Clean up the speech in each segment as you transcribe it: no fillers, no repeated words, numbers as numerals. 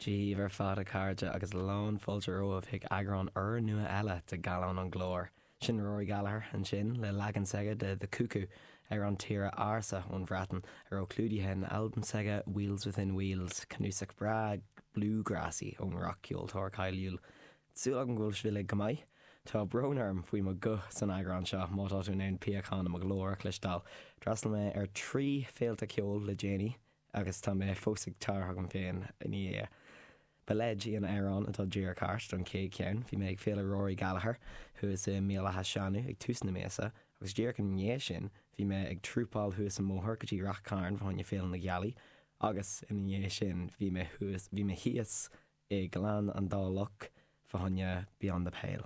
Dia dhaoibh ar fad a chairde agus lán fáilte romhaibh chuig eagrán úrnua eile de Gallán an Ghlóir. Sin Rory Gallagher ansin le leagan s'aige de The Cuckoo, amhrán tíre ársa ón Bhreatain a raibh clúdaithe in albam s'aige Wheels Within Wheels, cnuasach breá bluegrassy ón rac-cheoltóir cáiliúil. Súil agam go bhfuil sibh uilig go maith. Tá brón orm faoi mo ghuth san eagrán seo, má tá tú in ann piachán i mo ghlór a chloisteáil. D'fhreastail mé ar thrí féilte ceoil le déanaí agus tá mé fós ag tairfeadh orm féin ina dhiaidh. Ba leid í an amhrán atá díreach thart don chéad cheann. Bhí mé ag Féile Rory Gallagher thuas i mBéal Átha Seanaidh ag tús na míosa agus díreach ina ndiaidh sin bhí mé ag trúpáil thuas an mbóthar go dtí Rath Cairn fá choinne Féile na Gealaí agus ina ndiaidh sin bhí mé thuas bhí mé thíos i nGleann an Dá Loch fá choinne Beyond the Pale.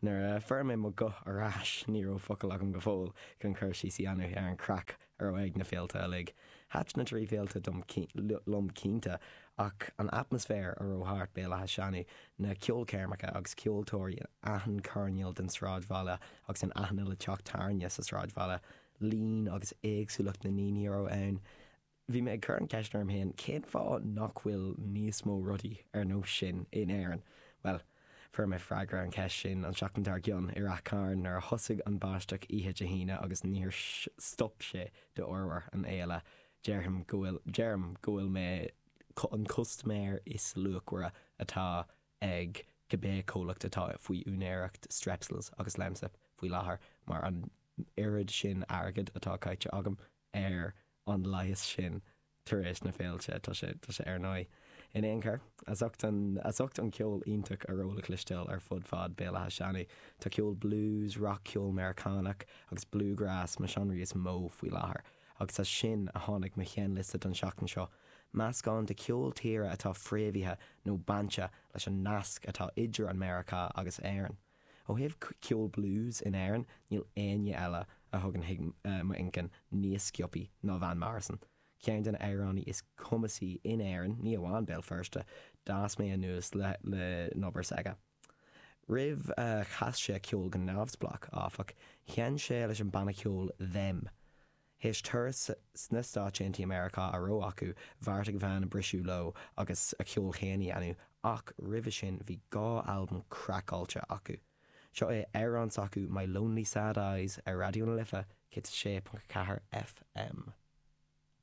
Nuair a fuair mé mo ghuth ar ais ní raibh focal agam go fóill chun cur síos a dhéanamh ar an chraic a raibh ag na féilte uilig. Thait na trí féilte dom liom cinnte, ach an atmaisféar a raibh thart Béal Átha Seanaidh, na ceolchoirmeacha agus ceoltóirí in achan choirnéal den sráidbhaile agus in achan uile teach tábhairne sa sráidbhaile, líon agus éagsúlacht na ndaoine a raibh ann, Bhí mé ag cur an cheist orm féin, cén fáth nach bhfuil níos mó rudaí ar nós sin in Éirinn? Bhuel, fuair mé freagra an cheist sin an seachtain dár gcionn i Rath Cairn nuair a thosaigh an báisteach oíche Dé hAoine agus níor stop sé d'fhormhór an fhéile. Déarfainn go bhfuil, deirim go bhfuil mé an custaiméir is luachmhaire atá ag cibé comhlacht atá faoi úinéireacht Strepsils agus Lemsip faoi láthair mar an oiread sin airgid atá caite agam ar an leigheas sin tar éis na féilte, tá sé, tá sé ar ndóigh. In aon chor, as ucht an, as ucht an ceol iontach a raibh le cloisteáil ar fud fad Béal Átha Seanaidh, tá ceol blues, rac-cheol Meiriceánach agus bluegrass mo seánraí is mó faoi láthair, agus as sin a tháinig mo sheinnliosta don seachtain seo, meascán de cheol tíre atá fréamhaithe nó bainte leis an nasc atá idir an Meiriceá agus Éirinn. Ó thaobh ceol blues in Éirinn, níl éinne eile a thagann chuig m'inchinn níos sciobthaí ná Van Morrison. Ceann de na amhránaí is cumasaí in Éirinn, ní amháin Béal Feirste, d'fhás mé anuas le n-obair s'aige. Roimh a chas sé ceol go neamhspleách, áfach, sheinn sé leis an banna ceoil Them. Théis turas sna Stáit Aontaithe Meiriceá a raibh acu, bheartaigh Van briseadh leo agus a cheol féin a dhéanamh, ach roimhe sin bhí 2 albam craiceáilte acu. Seo é amhrán s'acu My Lonely Sad Eyes ar Raidió na Life 106.4 FM.